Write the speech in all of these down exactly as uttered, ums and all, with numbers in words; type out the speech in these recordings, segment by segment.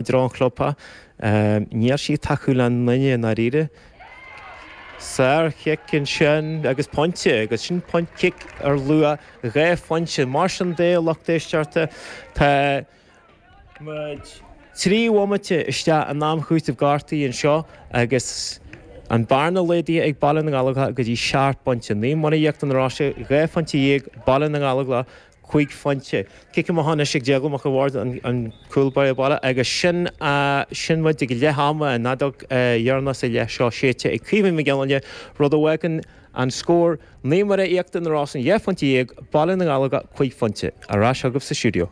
dtreo an chlubtha. Níl sí ag tacú le aon duine i ndáiríre. Sár-chic ansin agus pointe, agus sin point cic ar luach dhá phointe. Mar sin de, a lucht éisteachta, tá muid trí bhomaite isteach in am chúitimh gortaithe anseo agus an bearna laghdaithe ag Baile na nGallóglach go dtí seacht bpointe. Naomh Muire Íochtar na Roise, dhá phointe dhéag, Baile na nGallóglach, cúig phointe. Cic amach anois ag Déaglán Mac an Bhaird, an cúl báire baile, agus sin sin muid ag leath ama, an fheadóg dheireanach sa leath seo séidte ag Caoimhín Mac Giolla, rud a fhágann an scór Naomh Muire Íochtar na Rosann dhá phointe dhéag, Baile na nGallóglach cúig phointe. Ar ais chugaibh sa stiúideo.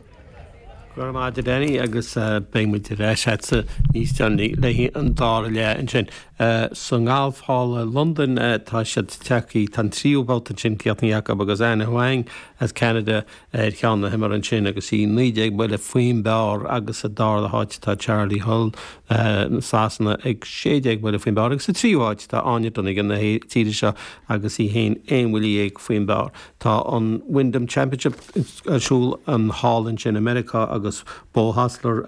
Go raibh maith agat a Danny agus beidh muid ar ais agatsa níos deireanaí le haghaidh an dara leath ansin. Sa ngalf thall i Londain tá siad tagtha, tá an tríú babhta ansin críochnaithe acu agus Anna Huang as Ceanada ar cheann na himeartha ansin agus í naoi déag buille faoin bpar agus sa dara háit tá Charley Hull Sasana ag sé déag buille faoin bpar agus sa tríú háit tá Áine Donegan na tíre seo agus í féin aon bhuille dhéag faoin bpar. Tá an Wyndham Championship ar siúl an thall ansin i Meiriceá agus Beau Hossler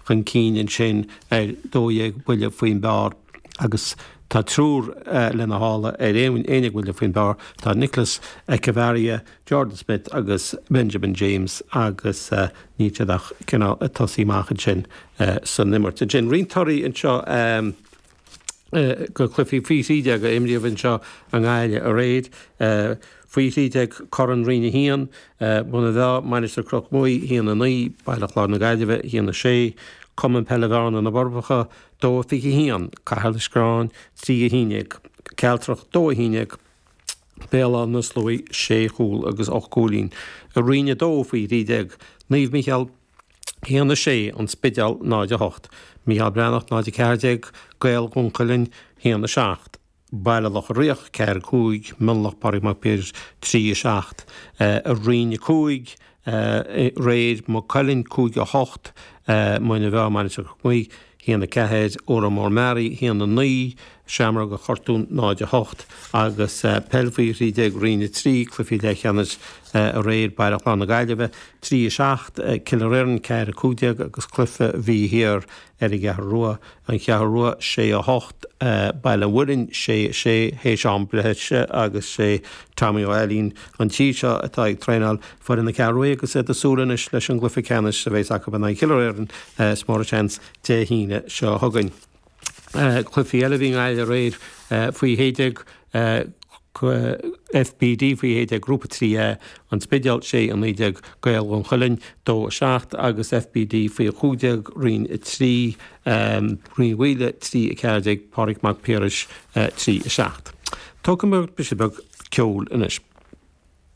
chun cinn ansin ar dó dhéag buille faoin bpar agus tá triúr lena shála ar aon déag buille faoin bpar. Tá Nicolas Echavarria, Jordan Smith agus Benjamin James agus níl siad ach cineál ag tosaí amach ansin san imirt. Ansin roinnt torthaí anseo go cluichí faoi thrí déag a imríodh anseo i nGaillimh aréir. Faoi thrí déag Corn Roinn a haon, Muine Mheá, Mainistir Chnoc Muaidhe, a haon a naoi, Baile Chláir na Gaillimhe, a haon a sé, Cumann Peile Bhearna na Forbacha, dó a fiche a haon, Cathair Loistreáin, trí a haon déag, Cealtrach, dó a haon déag, Béal Átha na Sluaighe, sé chúl agus ocht gcúilín. I Roinn a dó faoi thrí déag, Naomh Mícheál, a haon a sé, An Spidéal, náid a hocht, Mícheál Breathnach, náid a ceathair déag, Gaeil Dhún Chaoin, a haon a seacht, Baile Locha Riach, ceathair a cúig, Mionlach, Pádraig Mac Piarais, trí a seacht. I Roinn a cúig, aréir, Maigh Cuilinn, cúig a hocht, Muine Mheá, Mainistir Chnoc Muaidhe, a haon a ceathair, Órán Mór Meáraí, a haon a naoi, Seamróga Chortúin, náid a hocht, agus peil faoi thrí déag Roinn a trí, cluichí leathcheannais aréir, Baile Chláir na Gaillimhe, trí a seacht, Cill Airne, ceathair a cúig déag agus cluiche a bhí thiar ar an gCeathrú Rua, An Cheathrú Rua, sé a hocht, Baile an Mhuilinn, sé a sé, théis am breise agus sé Tommy Ó Ailín an tí seo atá ag traenáil foireann na Ceathrú Rua agus iad ag súil anois leis an gcluiche ceannais a bheas acu in aghaidh Chill Airne is mór an seans Dé hAoine seo chugainn. Cluichí eile a bhí i nGaillimh aréir faoi shé déag F B D faoi shé déag Grúpa trí A, An Spidéal sé a naoi déag, Gaeil Dhún Chaoin dó a seacht agus F B D faoi chúig déag Roinn a trí, Rinn Mhaoile trí a ceathair déag, Pádraig Mac Piarais trí a seacht. Tógfaidh muid briseadh beag ceoil anois.